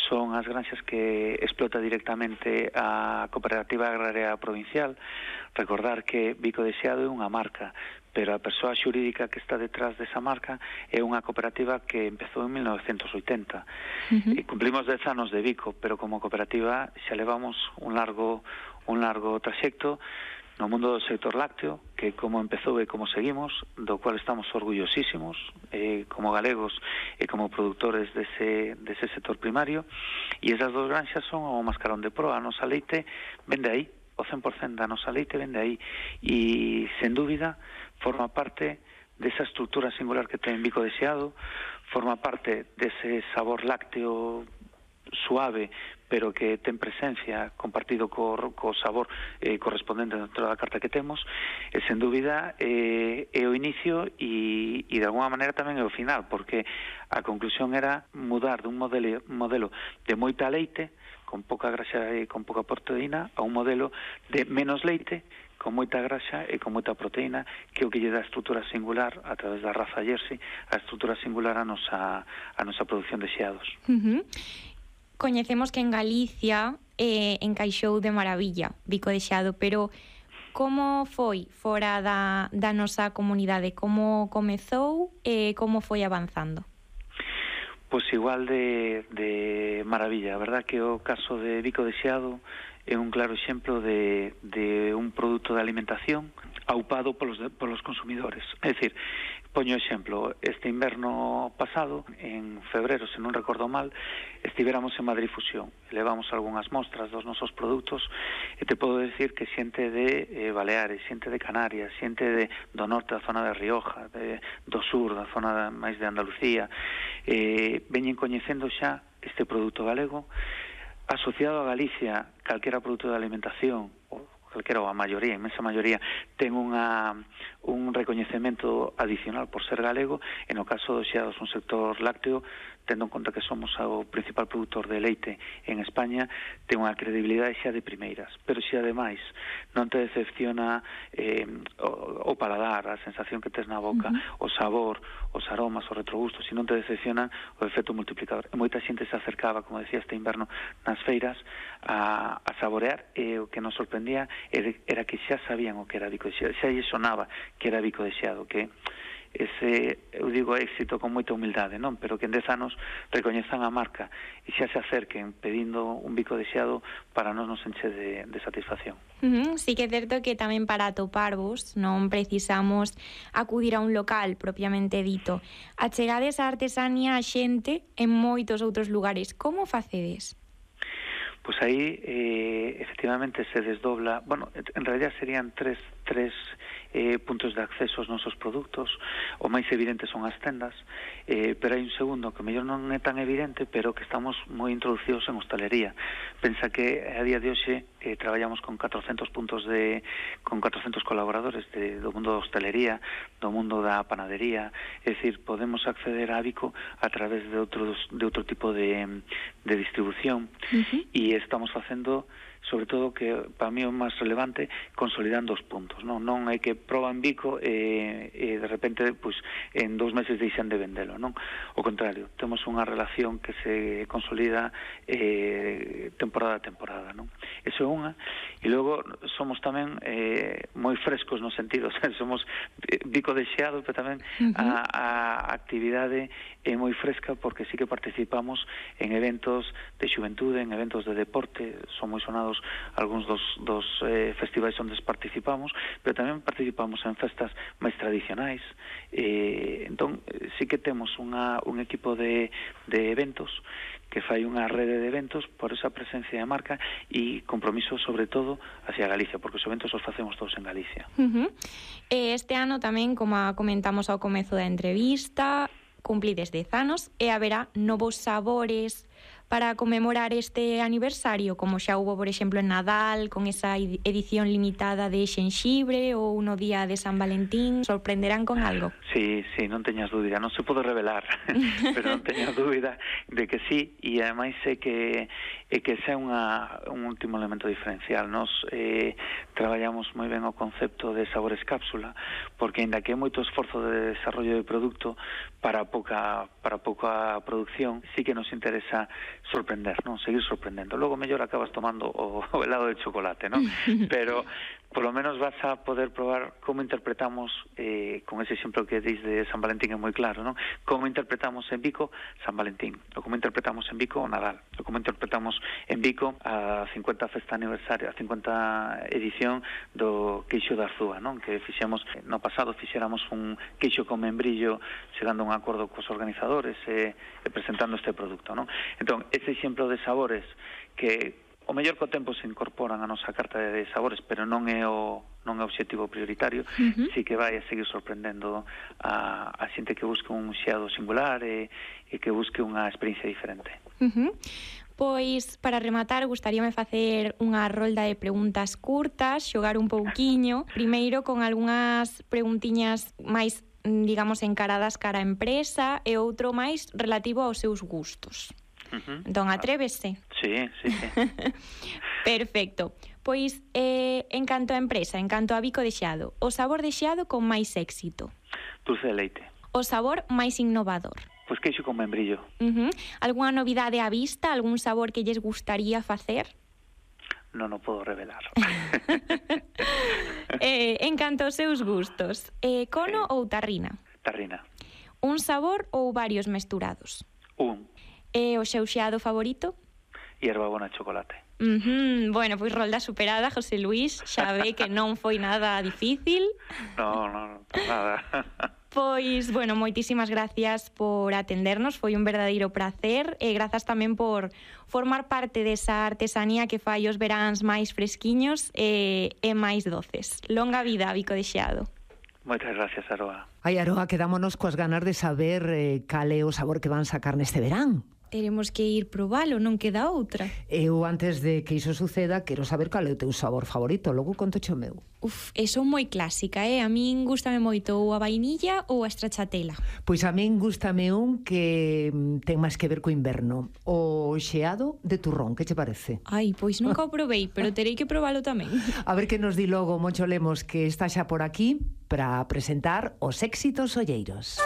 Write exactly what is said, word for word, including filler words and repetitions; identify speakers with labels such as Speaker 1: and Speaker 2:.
Speaker 1: son as granxas que explota directamente a Cooperativa Agraria Provincial. Recordar que Bico de Seado é unha marca, pero a persoa xurídica que está detrás desa marca é unha cooperativa que empezou en mil novecentos oitenta. Uh-huh. E cumplimos dez anos de Bico, pero como cooperativa xa levamos un largo un largo traxecto no mundo do sector lácteo, que como empezou e como seguimos, do cual estamos orgullosísimos eh, como galegos e como produtores dese, dese sector primario, e esas dos granxas son o mascarón de proa. A nosa leite vende aí, o cen por cento da nosa leite vende aí, e sen dúbida forma parte desa estrutura singular que ten Bico de Seado, forma parte dese sabor lácteo suave, pero que ten presencia compartido co, co sabor eh, correspondente dentro da carta que temos, e sen dúbida eh, é o inicio e, e de alguna maneira tamén é o final, porque a conclusión era mudar dun modelo, modelo de moita leite, con pouca graxa e con pouca proteína, a un modelo de menos leite, con moita graxa e con moita proteína, que é o que lle dá a estrutura singular a través da raza Jersey, a estrutura singular a nosa, a nosa produción de xeados.
Speaker 2: Uh-huh. Coñecemos que en Galicia eh, encaixou de maravilla Bico de Seado, pero como foi fora da, da nosa comunidade? Como comezou e como foi avanzando?
Speaker 1: Pois igual de, de maravilla. A verdad que o caso de Bico de Seado é un claro exemplo de, de un produto de alimentación aupado polos, polos consumidores. É dicir, poño exemplo, este inverno pasado, en febrero, se non recordo mal, estivéramos en Madrid Fusión, levamos algunhas mostras dos nosos produtos, e te podo decir que xente de eh, Baleares, xente de Canarias, xente de, do norte da zona de Rioja, de, do sur, da zona de, máis de Andalucía, eh, veñen coñecendo xa este produto galego, asociado a Galicia, calquera produto de alimentación, ou calquera, ou a maioría, a inmensa maioría, ten unha, un recoñecemento adicional por ser galego. E no caso dos xeados, un sector lácteo, tendo en conta que somos o principal produtor de leite en España, ten unha credibilidade xa de primeiras. Pero se ademais non te decepciona eh, o, o paladar, a sensación que tes na boca, uh-huh. o sabor, os aromas, os retrogustos, se non te decepcionan, o efecto multiplicador. E moita xente se acercaba, como decía, este inverno nas feiras a, a saborear, e o que nos sorprendía era que xa sabían o que era Bico de Seado, xa lle sonaba que era Bico de Seado, que ese, eu digo, éxito con moita humildade, non? Pero que en dez anos recoñezan a marca e xa se acerquen pedindo un Bico de Seado, para nós nos enche de, de satisfacción.
Speaker 2: Uh-huh. Sí que é certo que tamén para atoparvos non precisamos acudir a un local propiamente dito. Achegades a artesanía a xente en moitos outros lugares. Como facedes?
Speaker 1: Pois aí, eh, efectivamente, se desdobla, bueno, en realidad serían tres, tres eh, puntos de acceso aos nosos produtos. O máis evidente son as tendas, eh, pero hai un segundo que mellor non é tan evidente, pero que estamos moi introducidos en hostalería. Pensa que a día de hoxe eh, traballamos con catrocentos puntos de, con catrocentos colaboradores de, do mundo da hostalería, do mundo da panadería. É dicir, podemos acceder a Bico a través de outros, de outro tipo de, de distribución. Uh-huh. E estamos facendo, sobre todo, que para mí o máis relevante, consolidando os puntos, non non hai que proban Bico e, e de repente, pois, en dous meses deixan de vendelo, non? O contrario, temos unha relación que se consolida eh, temporada a temporada, non? Eso é unha. E logo somos tamén eh, moi frescos no sentido, somos Bico de Seado, pero tamén uh-huh. a, a actividade é moi fresca, porque sí que participamos en eventos de xuventude, en eventos de deporte, son moi sonados algúns dos, dos eh, festivais onde participamos, pero tamén participamos en festas máis tradicionais. Eh, entón, sí que temos unha, un equipo de, de eventos que fai unha rede de eventos por esa presencia de marca e compromiso, sobre todo, hacia Galicia, porque os eventos os facemos todos en Galicia.
Speaker 2: Uh-huh. Este ano tamén, como comentamos ao comezo da entrevista, cumplides dez anos e haberá novos sabores para conmemorar este aniversario, como xa hubo, por exemplo, en Nadal, con esa edición limitada de xenxibre, ou no día de San Valentín. Sorprenderán con algo?
Speaker 1: Sí, sí, non teñas dúbida, non se pode revelar, pero non teñas dúbida de que sí, e ademais sei que é que ese é unha, un último elemento diferencial. Nos eh, traballamos moi ben o concepto de sabores cápsula, porque ainda que é moito esforzo de desarrollo de produto para pouca, para pouca producción, sí que nos interesa sorprender, non? Seguir sorprendendo. Logo mellor acabas tomando o, o helado de chocolate, non? Pero por lo menos vas a poder probar como interpretamos, eh, con ese exemplo que dis de San Valentín é moi claro, non? Como interpretamos en Vico San Valentín, ou como interpretamos en Vico o Nadal, ou como interpretamos en Vico a cincuenta festa aniversario, a cincuenta edición do queixo da Arzúa, non? Que fixemos, no pasado fixéramos un queixo con membrillo chegando a un acordo cos organizadores e, e presentando este produto, non? Entón, ese exemplo de sabores que o mellor co tempo se incorporan a nosa carta de sabores, pero non é o non é o obxectivo prioritario, uh-huh. Si que vai a seguir sorprendendo a, a xente que busque un xeado singular e, e que busque unha experiencia diferente.
Speaker 2: Uh-huh. Pois, para rematar, gustaríame facer unha rolda de preguntas curtas, xogar un pouquiño, primeiro con algunhas preguntiñas máis, digamos, encaradas cara a empresa e outro máis relativo aos seus gustos. Uh-huh. Entón, atrévese?
Speaker 1: Sí, sí, sí.
Speaker 2: Perfecto. Pois, eh, en canto a empresa, en canto a Vico de Xeado, o sabor de xeado con máis éxito?
Speaker 1: Dulce de leite.
Speaker 2: O sabor máis innovador?
Speaker 1: Pois queixo con membrillo.
Speaker 2: Uh-huh. Algúa novidade á vista? Algún sabor que lles gustaría facer?
Speaker 1: Non o podo revelar.
Speaker 2: eh, en canto aos seus gustos, eh, cono sí. Ou tarrina?
Speaker 1: Tarrina.
Speaker 2: Un sabor ou varios mesturados?
Speaker 1: Un.
Speaker 2: E o seu xeado favorito?
Speaker 1: Hierbabona chocolate.
Speaker 2: Uh-huh. Bueno, pois rolda superada, José Luís, xa ve que non foi nada difícil.
Speaker 1: No, no, no, nada.
Speaker 2: Pois, bueno, moitísimas gracias por atendernos, foi un verdadeiro prazer e grazas tamén por formar parte desa artesanía que fai os veráns máis fresquiños e, e máis doces. Longa vida, Vico de Xeado.
Speaker 1: Moitas gracias, Aroa.
Speaker 3: Ai, Aroa, quedámonos coas ganas de saber eh, cal é o sabor que van sacar neste verán.
Speaker 2: Teremos que ir probalo, non queda outra.
Speaker 3: Eu, antes de que iso suceda, quero saber cal é o teu sabor favorito. Logo conto o meu.
Speaker 2: Uf, é son moi clásica, eh? A min gústame moito ou a vainilla ou a stracciatella.
Speaker 3: Pois a min gústame un que ten máis que ver co inverno. O xeado de turrón, que che parece?
Speaker 2: Ai, pois nunca o probei, pero terei que probalo tamén.
Speaker 3: A ver que nos di logo Moncho Lemos, que está xa por aquí para presentar os éxitos olleiros.